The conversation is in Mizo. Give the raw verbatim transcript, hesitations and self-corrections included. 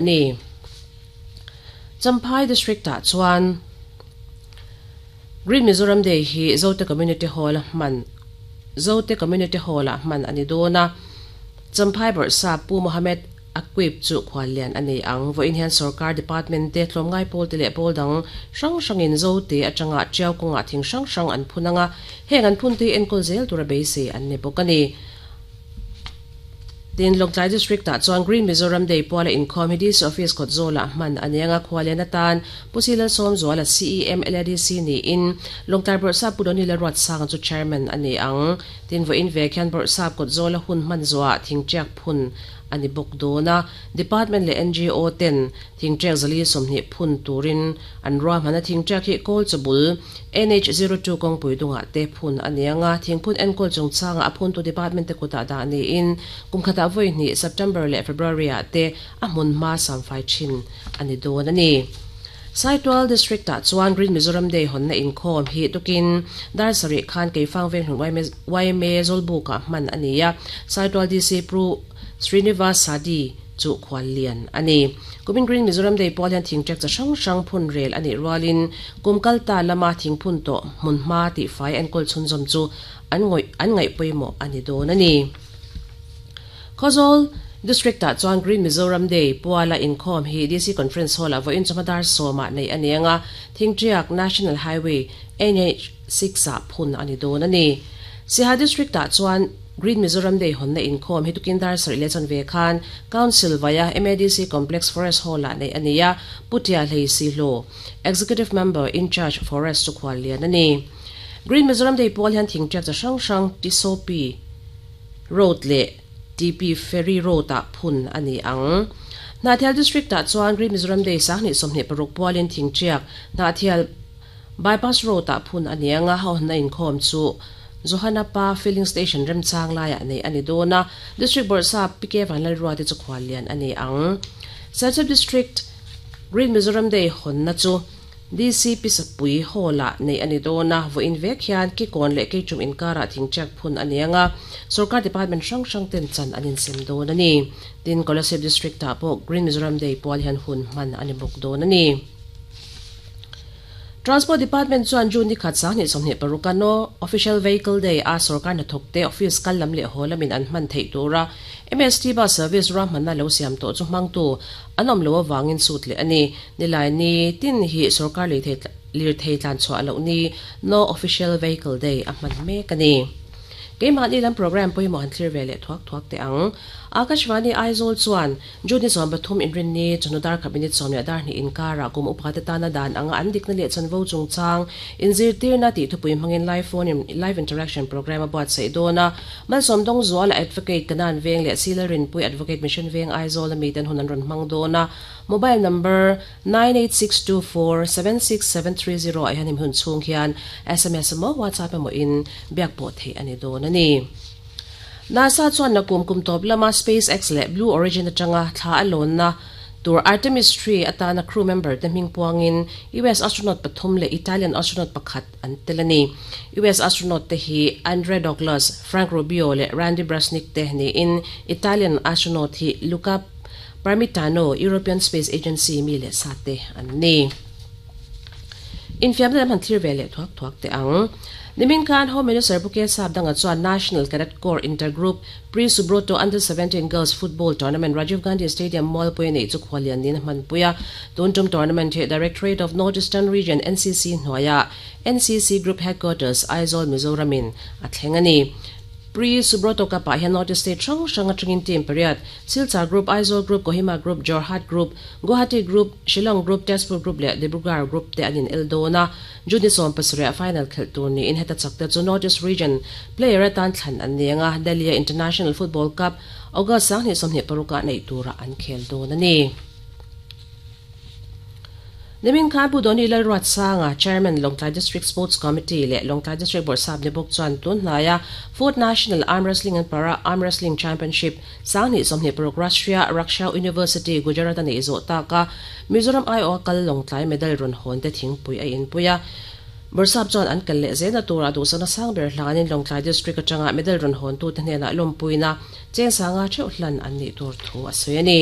Ni Champhai District ah chuan Green Mizoram Day hi Zote Community Hall man Zote Community Hall ah man ani dona Champhai Bawrhsap Pu Mohammed Aquip chu khwalian ani ang vo in hian sarkar department te tlawmngai pawl te leh pawl dang hrang hrangin Zote atanga Tiau kawnga thing hrang hrang an phun anga heng an phun te enkawl zel tura beisei an ni bawk ani. Tin Lawngtlai District ah chuan Green Mizoram Day puala inkhawm hi D C Office kawt zawlah hman ani anga khwalian atan Pu Silal Sawmzuala C E M L A D C niin Lawngtlai Bawrhsap Pu Doni Lalruatsanga chu chairman ani ang. Tin vo in vek hian Bawrhsap kawt zawla hun hman zuah thingṭiak phun ani bawk dawna department leh N G O ten thingṭiak zali sawmhnih phun turin an ruahman a thingṭiak hi kawl chawbul N H zero two kawngpui dungah te phun ani anga thingphun enkawl chungchanga a phuntu department te kutah dah niin kum khatah vawi hnih September leh February ah te a hmun hma samfai thin ani dawn ani. Saitual District ah chuan Green Mizoram Day honna inkhawm hi tukin dar sarih khan keifang veng hlun Y M A Zawlbuk ah hman ani a Saitual D C Pru Srinivas Sadi chu khwalian ani. Kumin Green Mizoram Day pawl hian thingṭek cha hrang hrang phun rel ani rualin kumkalta lama thingphun to hmun hma ti fai enkawl chhunzawm chu an ngoi an ngaih pawimawh ani dawn ani. Khawzawl District ah chuan Green Mizoram Day puala inkhawm hi D C Conference Hall ah vawiin chawhma sawma nei ani anga thingṭiak National Highway N H six ah phun ani dawn ani. Siaha District ah chuan Green Mizoram Day honna inkhawm hi tukin dar sarih leh chanve khan Council via M A D C Complex Forest Hall ah nei ani a Putia Hlei Sihlo Executive Member in Charge Forest chu khwalian ani. Green Mizoram Day pawl hian thingṭiak cha hrang hrang Tisopi Road leh T P Ferry Road ah phun ani ang. Hnahthial District ah chuan Green Mizoram Day sanghnih sawmhnih paruk pualin thingṭiak Hnahthial Bypass Road ah phun ani anga honna inkhawm chu Johana pa filling station remchang laiah nei ani dawna District Bawrhsap P K Vanlalrua te chu khwalian ani ang. Serchhip District Green Mizoram Day honna chu D C Pisapui Hall ah nei ani dawna vawiin vek hian kikawn leh keichum inkara thingṭiak phun ani anga sarkar department hrang hrang ten chan an insem dawn ani. Tin Kolasib District ah pawh Green Mizoram Day pual hian hun hman ani bawk dawn ani. Transport Department chuan June ni khat sanghnih sawmhnih paruk ano Official Vehicle Day a sarkar hnathawk te office kal lam leh haw lamin an hman theih tura M S T bus service ruahmanna lo siam tawh chu hmangtu an awm lo awangin sut leh ani. Nilai ni tin hi sarkar lir thei tlan chhuah loh ni no Official Vehicle Day a hman mek ani. Keimah ni lam program pawimawh han thlir ve leh thuak thuak te ang. Akashvani Aizawl chuan June ni sawm pathum inrin ni chawhnu dar khat minute sawm leh dar hnih inkara kum upa te tana dan anga an dikna leh chanvo chungchang inzirtirna tih thupui hmangin live phone in live interaction program a buatsaih dawna Malsawm Dawng Zuala Advocate Kanan Veng leh Silarin Pui Advocate Mission Veng Aizawl ami ten hun an rawn hmang dawna mobile number nine eight six two four seven six seven three zero ah hian hemi hun chhung hian S M S emaw WhatsApp emaw in biak pawh theih ani dawn ani. NASA chuan na kum kum tawp lama SpaceX leh Blue Origin atanga thla a lawnna tur Artemis three atana crew member te hming puangin U S astronaut pathum leh Italian astronaut pakhat an tel ani. U S astronaut te hi Andre Douglas, Frank Rubio leh Randy Bresnik te niin Italian astronaut hi Luca Parmitano, European Space Agency mi leh sa te an ni. Infiamna lam han thlir ve leh thuak thuak te ang. Nimin khan Home Minister Pu K Sapdanga chuan National Cadet Corps Intergroup Pre-Subroto Under seventeen Girls Football Tournament Rajiv Gandhi Stadium Mualpui nei chu khwalian nin hman puia. Tuntum tournament hi Directorate of North Eastern Region N C C hnuaia N C C Group Headquarters Aizawl Mizoramin a thleng ani. Pre-Subroto Cup ah hian North East State hrang hrang atangin team pariat Silchar Group, Aizawl Group, Kohima Group, Jorhat Group, Guwahati Group, Shillong Group, Tezpur Group leh Dibrugarh Group te anin el dawna June ni sawm pasarih a final khelh tur niin heta chak te chu North East Region player atan thlan an ni anga Delhi International Football Cup August sanghnih sawmhnih paruk ah nei tura an khel dawn ani. Nimin khan Pu Doni Lalruatsanga Chairman Lawngtlai District Sports Committee leh Lawngtlai District Bawrhsap ni bawk chuan tun hnaia Fourth National Arm Wrestling and Para Arm Wrestling Championship sanghnih sawmhnih paruk Rashtriya Raksha University Gujarat ani zawh taka Mizoram I O kal Lawngtlai medal rawn hawn te thingpui a inpuia. Bawrhsap chuan an kal leh zena tura duhsana sang ber hlanin Lawngtlai District atanga medal rawn hawn tu te hnenah lawmpuina cheng sanga theuh hlan an nih tur thu a sawi ani.